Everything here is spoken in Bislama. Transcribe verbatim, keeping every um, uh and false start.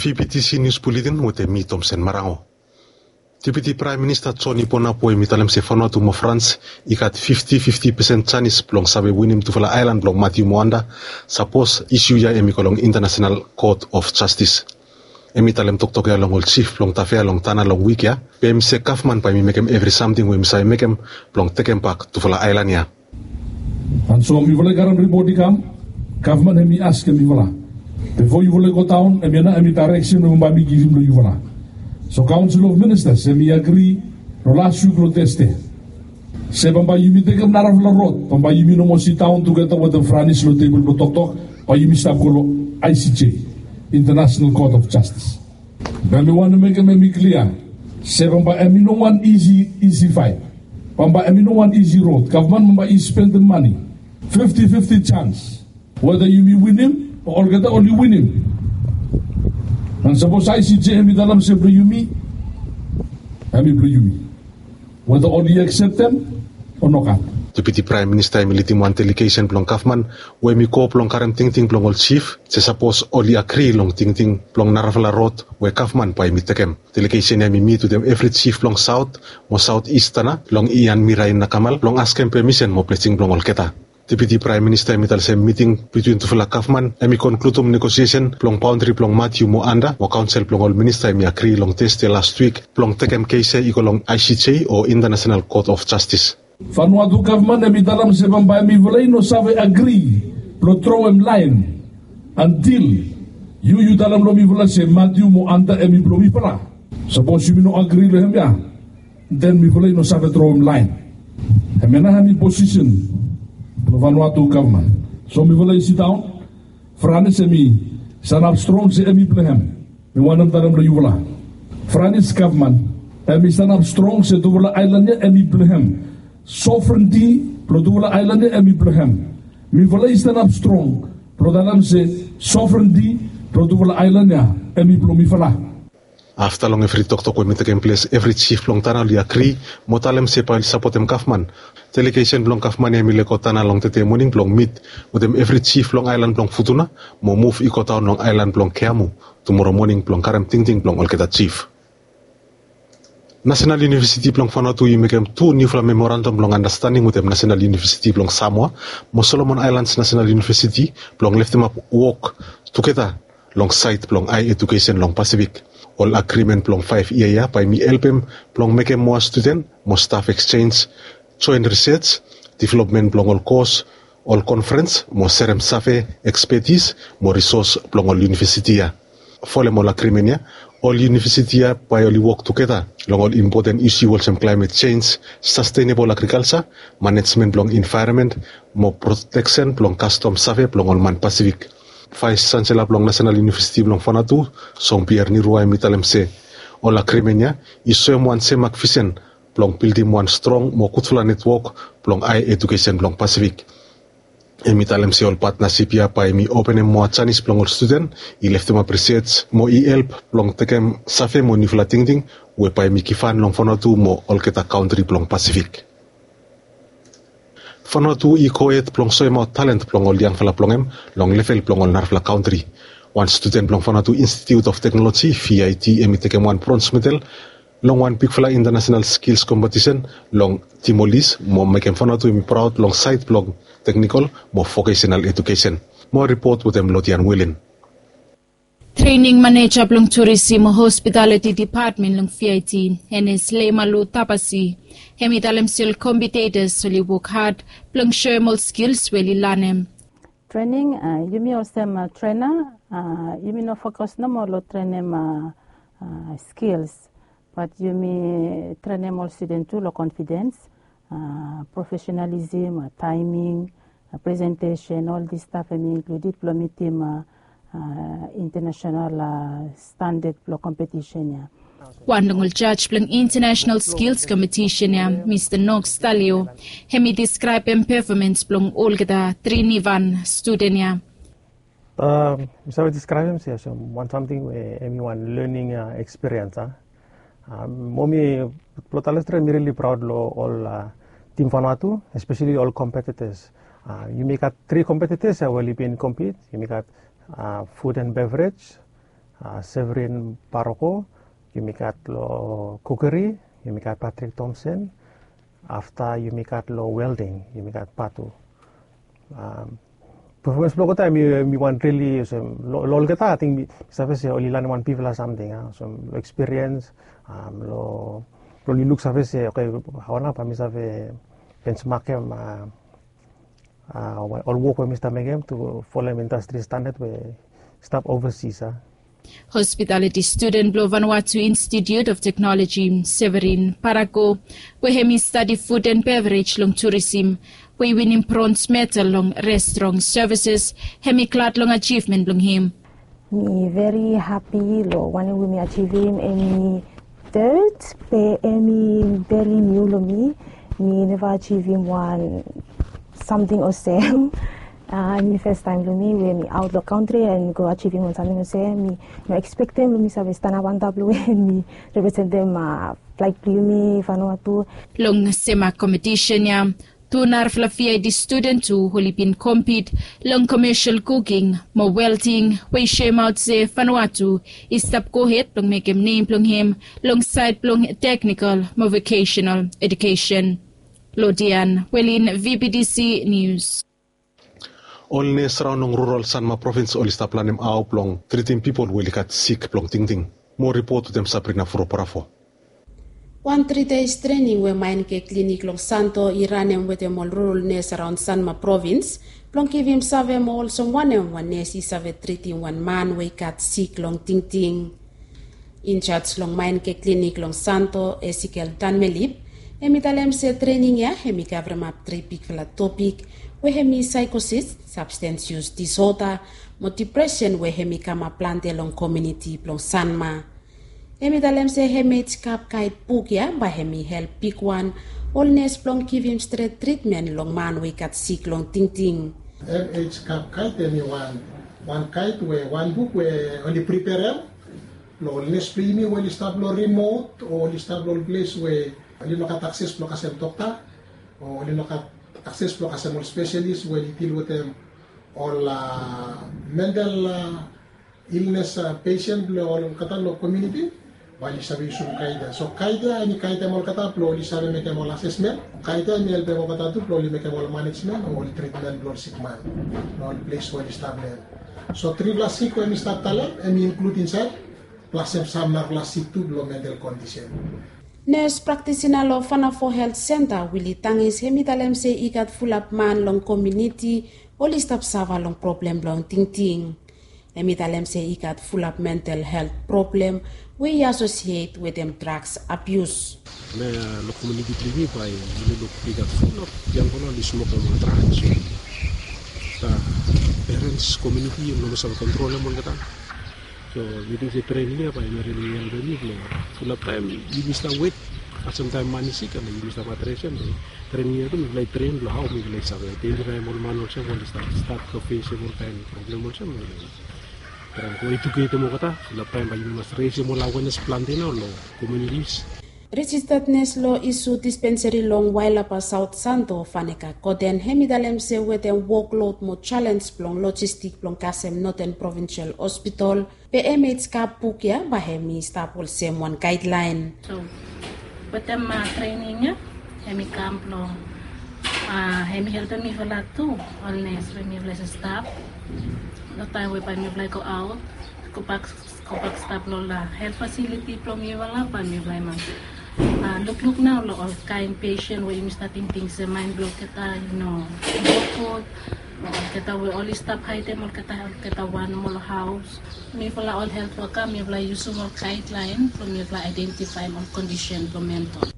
Deputy Senior Bulletin wetem mi Tomsen Marango. Deputy Prime Minister John Iponap we mi talem se Vanuatu mo France i gat fifty fifty percent janis blong save winim tufala aelan blong Matthew mo Anda sapos isu ya em i go long International Court of Justice. Em i talem toktok ya long ol chief blong Tafea long Tana long wik ya, be em i se gavman bae mi mekem evri samting we mi save mekem blong tekem bak tufala aelan ya. An so mifala i karem ripot i kam, gavman hem i askem mifala, bifo yufala i go daon, hemia nao hem i daereksen we bambae mi givim long yufala. So Council of Ministers hem i agri long las wik long Tesde se bambae yumi tekem narafala rod, bambae yumi no moa sidaon tugeta wetem Franis long tebol blong toktok, bae yumi stap go long I C J, International Court of Justice. Be mi wantem mekem hem i klia se bambae hem i no wan isi isi faet. Bambae hem i no wan isi rod. Gavman bambae i spendem mane. Fifti fifti jans weta yumi winim o olgeta oli winim. An sapos I C J hem i talem se blong yumi, hem i blong yumi. Weta oli akseptem o nogat. Deputy Prime Minister hem i lidim wan delegesen blong gavman we hem i go blong karem tingting blong ol chief se sapos oli agri long tingting blong narafala rod we gavman bae hem i tekem. Delegesen ya hem i mit wetem evri chief blong Saot mo Saot Is Tana long Ian Mirain Nakamal blong askem pemisen mo blesing blong olgeta. Deputy Prime Minister hem i talem se miting bitwin tufala gavman hem i konkludum negosiesen blong baondri blong Matthew mo Anda mo kaonsel blong ol minista hem i agri long Tesde lastwik blong tekem kes ya i go long I C J o International Court of Justice. Vanuatu gavman hem i talem se bambae mifala i no save agri blong troem laen antil yu yu talem long mifala se Matthew mo Anda hem i blong mifala. Sapos yumi no agri long hemia, den mifala i no save troem laen. Hemia nao hem i posisen blong Vanuatu gavman. So mifala i sidaon, Franis hem i sanap strong se hem i blong hem. Mi wantem talem long yufala, Franis gavman hem i sanap strong se tufala aelan ya hem i blong hem. Sovrenti blong tufala aelan ya hem i blong hem. Mifala i sanap strong blong talem se sovrenti blong tufala aelan ya hem i blong mifala. Afta long evri toktok we mi tekem ples, evri chief blong Tana oli agri mo talem se bae oli sapotem gavman. Delegesen blong gavman ya hem i lego Tana long tede moning blong mit wetem evri chief blong aelan blong Futuna mo muv i godaon long aelan blong Keamu tumoro moning blong karem tingting blong olgeta chief. Nasenal Yunivesiti blong Vanuatu i mekem tu niufala memorandam blong andastanding wetem Nasenal Yunivesiti blong Samoa mo Solomon Aelans Nasenal Yunivesiti blong leftemap wok tugeta long saed blong ae ejukesen long Pasifik. Ol agrimen blong faef yia ya bae hem i helpem blong mekem moa studen mo staf eksenj, joen risej, developmen blong ol kos, ol konferens mo serem save, ekspetis mo risos blong ol yunivesiti ya. Folem ol agrimen ya, ol yunivesiti ya bae oli wok tugeta long ol impoten isu olsem klaemet jenj, sastenebol agrikalja, manejmen blong envaeronmen mo proteksen blong kastom save blong ol man Pasifik. Vaes Jansela blong Nasenal Yunivesiti blong Vanuatu, Jean-Pierre Nirua, hem i talem se ol agrimen ya i soem wan semak visen blong bildim wan strong mo gudfala netwok blong ae ejukesen blong Pasifik. Hem i talem se ol patnasip ya bae hem i openem moa janis blong ol studen i leftemap risej mo i help blong tekem save mo niufala tingting we bae hem i givhan long Vanuatu mo olgeta kantri blong Pasifik. Vanuatu i gohed blong soemaot talent blong ol yangfala blong hem long level blong ol narafala kantri. Wan studen blong Vanuatu Institute of Technology, V I T, hem i tekem wan brons medal long wan bigfala intanasenal skils kompetisen long Timor-Leste mo mekem Vanuatu hem i praod long saed blong teknikol mo vokesenal ejukesen. Moa ripot wetem Lodian Wilin. Trening maneja blong Turisim mo Hospitaliti Depatmen long V I T, Enes Leimalu Tabasi, hem i talem se ol kompitetors oli wok had blong soem ol skils we oli lanem. Trening, a, yumi olsem, a, trena, a, yumi no fokus nomo long trenem, a, a, skils, bat yumi trenem ol studen tu long konfidens, a, profesenalisem, a, taeming, a, presentesen, ol dis staf hem i inkluded blong mitim, a, a, intanasenal, a, standad blong kompetisen ya. Wan long ol jaj blong International Skills Competition ya, Mista Knox Talio, hem i deskraebem pefomans blong olgeta tri nivan studen ya. A, mi save deskraebem se olsem wan samting we hem i wan lening, a, ekspiriens, a. A, mo mi, blong talem stret, mi rili praod long ol, a, tim Vanuatu, espeseli ol kompetitas. A, yumi gat tri kompetitas ya we oli bin kompit. Yumi gat, a, food and beverage, Severin Paroko, yumi gat lo kukeri, yumi gat Patrick Thompson, afta yumi gat lo welding, yumi gat Patu. Performance blo olgeta mi wan rili olsem lo olgeta ating mi save se oli lanem wan bigfala samting, olsem lo ekspiriens, lo oli luk save se oke, hao nao bae mi save bensmakem ol wok we mi stap mekem tu folem indastri standad we stap ovasis. Hospitaliti studen blo Vanuatu Institute of Teknoloji, Severin Parako, we hem i stadi fud and beverage long turisim, we i winim brons medal long restrong sevises, hem i glad long ajivmen blong hem. Mi veri hapi lo wanem we mi ajivim, em i tet be em i veri niu lo mi. Mi neva ajivim wan samting olsem. Em i fes taem blo mi we mi aot lo kantri and go ajivim wan samting olsem. Mi no ekspektem blo mi save stanap antap lo we mi representem flag blo yumi Vanuatu. Long sem kompetisen ya, tu narafala V I D studen tu oli bin kompit long commercial cooking mo welding, we i soemaot se Vanuatu i stap gohed blong mekem nem blong hem long saed blong teknikol mo vocational education. Lodian Welin, V B T C News. Ol nes raon long rural Sanma provins oli stap lanem hao blong tritim pipol we oli gat sik blong tingting. Moa ripot wetem Sabrina Furo Parafo. Wan tri days trening we Maenke Klinik long Santo i ranem wetem ol rural nes araon Sanma provins blong givim save mo olsem wanem wan nes i save tritim wan man we i gat sik long tingting. Injaj long Maenke Klinik long Santo, Esikel Tanmelip, hem i talem se trening ya hem i kavremap tri bigfala topik we hem i saekosis, sabstens yus disoda mo dipresen we hem i kamap plante long komuniti blong Sanma. Hem i talem se hem ej kap gaed buk ya bae hem i help bigwan ol nes blong givim stret tritmen long man we i gat sik long tingting. Hem ej kap gaed hem i wan, wan gaed we wan buk we oli priperem lo ol nes blo yumi we oli stap lo rimot o oli stap lo ol ples we oli no gat akses blo kasem dokta o oli no gat akses blo kasem ol spesialis we oli dil wetem ol mental ilnes pesen blo olgeta lo komuniti, bae oli save yusum gaed ya. So gaed ya hem i gaedem olgeta blo oli save mekem ol asesmen. Gaed ya hem i helpem olgeta tu blo oli mekem ol manejmen o ol tritmen blo ol sikman lo ol ples we oli stap lo hem. So trifala sik we hem i stap talem hem i inklud insaed plas hem sam narafala sik tu blo mental kondisen. Nes praktisina lo Vanafo Helt Senta, Wili Tangis, hem i talem se i gat fulap man long komuniti oli stap safa long problem blong tingting. Hem i talem se i gat fulap mental helt problem we i asosiet wetem draks abius. Long komuniti blong yumi bae yumi luk i gat fulap yangfala oli smokem ol draks. Perens, komuniti hem no save kontrolem olgeta. So mi ting se trening ya bae hem i rili helpem mi blong fulap taem yumi stap wet, kasem taem man i sik, ale yumi stap adresem. Trening ya tu mifala i tren blong hao mifala i save aedentifaem ol man olsem we oli stap, stap long fesem ol kaen problem olsem. Traem go eduketem olgeta, fulap taem bae yumi mas resem ol awenes plante nao long komunitis. Rejistad nes lo isu dispenseri long Wailaba Saot Santo, Faneka Goden, hem i talem se wetem woklod mo jalens blong lojistik blong kasem Noten Provinsel Hospitol, be hem ej kap buk ya bae hem i stap olsem wan gaedlaen. So wetem trening ya hem i kam blong hem i helpem mifala tu, ol nes we mifala i stap lo taem we bae mifala i go aot, gobak, gobak stap lo ol helt fasiliti blong mifala, bae mifala i mas lukluk nao lo ol kaen pesen we yumi stap tingting se maen blong olgeta i no gud. Olgeta we oli stap haedem olgeta, olgeta wan mo lo haos. Mifala ol helt woka mifala i yusum ol gaedlaen blong mifala aedentifaem ol kondisen blong mental.